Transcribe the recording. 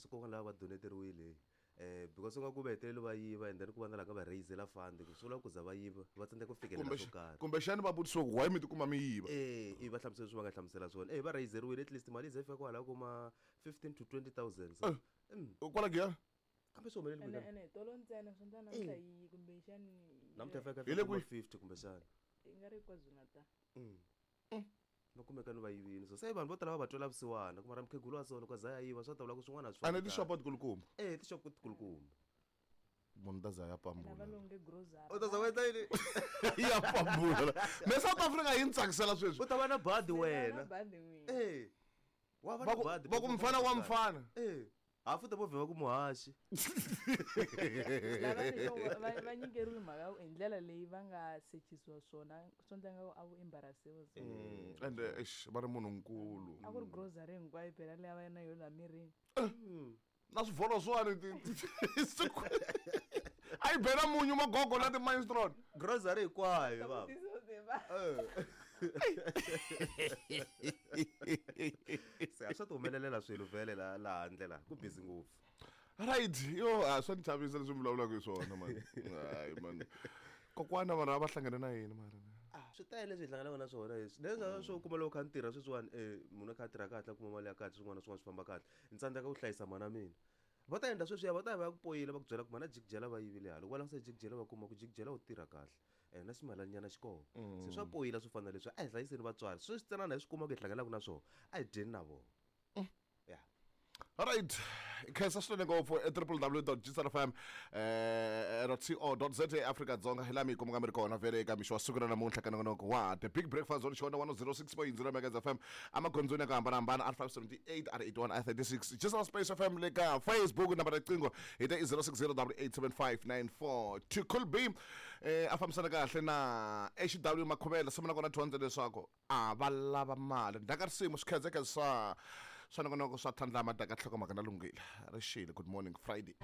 So kokwana lava va doneteriwile because u nga ku va hetelele va yiva and then ku va na la nga va raisela fund ku swi vula ku za va yiva va tsandzeka ku fikelela swo karhi. Kumbexani va vutisiwa ku why mi tikuma mi yiva. I va hlamusela leswi va nga hlamusela swona. Va raiseriwile at least mali yi ze yi fika kwalaho ko ma 15 to 20,000 so. Kwala Giyani? Kambe swi humelele Ene kwini? ene tolo ntsena swi endla namuntlha yi kumbexani Namuntlha yi fika Hi le kwihi? 50 kumbexani. Yi nga ri KwaZulu-Natal. Va kumeka ni va yivini so se vanhu vo tala va va twela vusiwana ku mara mukhegulu wa so loko a za ya yiva swa ta vula ku swin'wana a swi Ene fambi kahle. tixopo tikulukumba. Tixopo tikulukumba. Munhu ta za ya Ene va pambula. longe grocery. U ta za u endla yini? Ya pambula. Me South Africa yi ni tsakisela sweswi. U ta va na badi Na wena. badi n'wina. Wa va Va na ku badi. va ku mfana wa mfana. Hafu ta vo vhe va ku muhaxi. Lava ni swo va nyikeriwe mhaka hi ndlela leyi va nga sechisiwa swona swo endla nga ku a vo embarrassiwa so. And eish va ri munhu nkulu. A ku ri grocery hinkwayo phela leyi a va na yona laha mirini. Na swivholo swani a yi bela munyu magogo na ti-maestron. Grocery hinkwayo baba. Se a swa ti humelelela swilo vhele la la handle la ku busy ngopfu. Right, yo a swa ni chavisa leswi mi vulavulaka hi swona man. Hayi man. Kokwana vanhu va hlangane na yini mara? Swi tele leswi hi hlanganaka na swona leswi. Leswi swo kuma loko kha ni tirha sweswiwani munhu a kha a tirha kahle a kuma mali ya kahle swin'wana na swin'wana swi famba kahle. Ni tsandzeka ku hlayisa mhana mina. Va ta endla sweswiya va ta ya va ya ku poyila va ku byela ku mhana jikijela va yivile hala. Loko va langutisa jikijela va kuma ku jikijela u tirha kahle. Na ximalanyana xi kona. Se swa poyila swo fana na leswi a hi hlayiseni vatswari. Sweswi tsanana hi swi kuma ku hi hlanganaka na swona a hi dyeni na vona. Yeah. All right. Khensa swinene ngopfu e www.gsrfm .co.za Afrika Dzonga hi laha mi yi kumaka mi ri kona vhele eka mixo wa siku ra namuntlha ka nongonoko wa The Big Breakfast on Xona 106.0 Megahertz FM emagondzweni ya ku hambanahambana R578 R81 R36 Gsr Space FM le ka Facebook nambara riqingho hi ta i 06087594 to cool be a fambisana kahle na HW Makhuvela simu na kona dyondza leswaku a va lava mali ndaka risimu swikhedzekhe swa swa nongonoko swa tlhandlama daka nhlokomhaka na lunghile rixile. Good morning Friday.